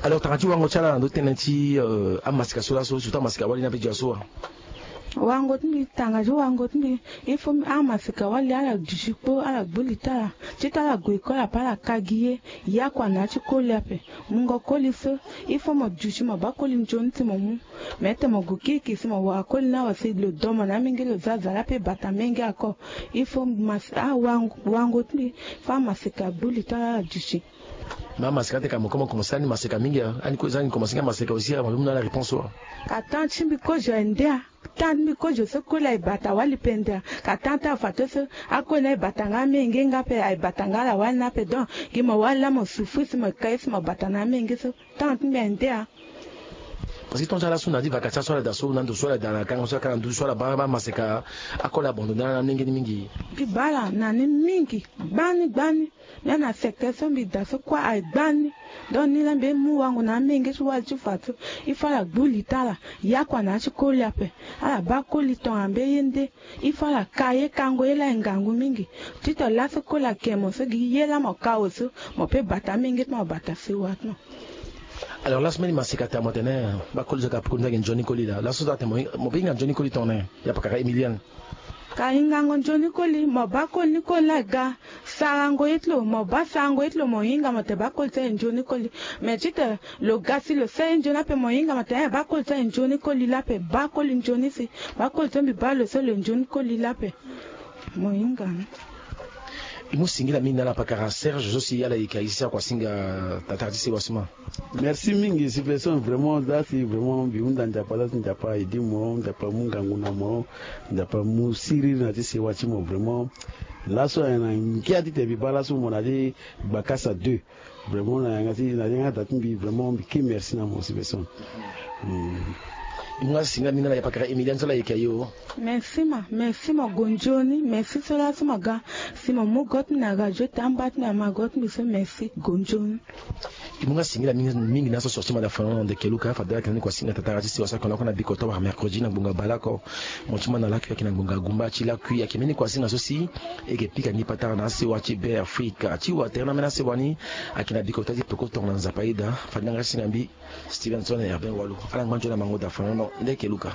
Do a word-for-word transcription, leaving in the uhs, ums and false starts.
Alors tanga ti wango ti ala na ndo tënë ti amaseka so laso surtout amaseka wali ni ape dia so wa? Wango ti mbi tanga ti wango ti mbi, il faut amaseka wali ala duti kpo ala gbu li ti ala ti tongana ala gue école ape ala ka gi ye. Ye akua na ya ti koli ape. Mungo koli so il faut mo duti mo baa koli nzoni si mo mu. Me ete mo gue kirikiri si mo wara koli ni awe si lo do mo na amenge lo za aza la pe bata menge ako. Il faut awango ti mbi, faut amaseka gbu li ti ala ala duti. Me amaseka ti ka mo komo komo sani maseka mingi a ani kozo ani komo sani maseka aussi a mo be mu na ala réponse wa? Ka temps ti mbi kozo aye nde a. Temps ti mbi kozo so koli aye bata wali pendere. Ka temps ti afato so akoli ni aye bata nga amenge nga pe aye bata nga ala wali ni ape donc gi mo wali la mo souffrir si mo ka ye si mo bata na amenge so. Temps ti mbi aye nde a. Parce que ton ti ala so na di vacation so ala daa so na ndo so ala daa na kango so ala ka na nduzu so ala baa amaseka. Akoli abandonné ala na amenge ni mingi. Mbi baa ala na ni mingi. Gbani gbani. Mbi na secteur so mbi daa so kue aye gbani. Donc ni la mbi mu wango na amenge so wali ti fa so. Il faut ala gbu li ti ala. Ye akua na ya ti koli ape. Ala baa koli tongana mbi ye nde. Il faut ala ka ye kango ye la aye ngangu mingi. Titene laso koli ake mo so gi ye la mo ka awe so mo pe bata amenge ti mo bata sewa ti mo. Alors laso mbeni maseka taa mo tene baa koli so ka pukoni so ayeke nzoni koli laa laso so atene mo pe hinga nzoni koli tongana nyen? Ya pakara Emilienne. Ka hingango nzoni koli mo baa koli ni koli laa aga. Sarango ye ti lo mo baa sarango ye ti lo mo hinga mo tene baa koli so ayeke nzoni koli. Me titene lo ga si lo sara ye nzoni ape mo hinga mo tene baa koli so ayeke nzoni koli laa ape baa koli nzoni si. Baa koli so mbi baa lo so lo nzoni koli laa ape. Mo hinga ni. E mu singila mingi na ala pakara Serge so si ala yeke aye si akuasinga tatara ti sewa sima. Merci mingi si personne vraiment za si vraiment mbi hunda Nzapa za si Nzapa aidi mo Nzapa amu ngangu na mo. Nzapa amu siriri na ti sewa ti mo vraiment. Laso ayeke na ngia titene mbi baa laso mo na ti gbakasa deux. Vraiment na yanga ti na yanga da ti mbi vraiment mbi ke merci na mo si personne. E mu nga singila mingi na ala ya pakara Emilienne so ala yeke aye o. Merci ma merci ma gonzoni merci so laso ma ga. Si ma mu go ti mbi na radio ti amba ti mbi ama go ti mbi so merci gonzoni. E mu nga singila mingi na so sorti ma da fana na ndeke luka fade ala yeke na ni kua singa tatara ti sewa so ayeke na oko na biko to wara mercredi na ngbonga baleoko. Mo ti ma na lakui ayeke na ngbonga gumba ti lakui ayeke mbeni kua singa so si e yeke pika ni patara na asewa ti be afrika ti wa tere na mbeni asewa ni. Ayeke na biko ta ti peko tongo na nzapa aye daa fade na nga singa mbi. Stevenson Herbin Walu ala ngba nzoni na mango da fana no ndeke luka.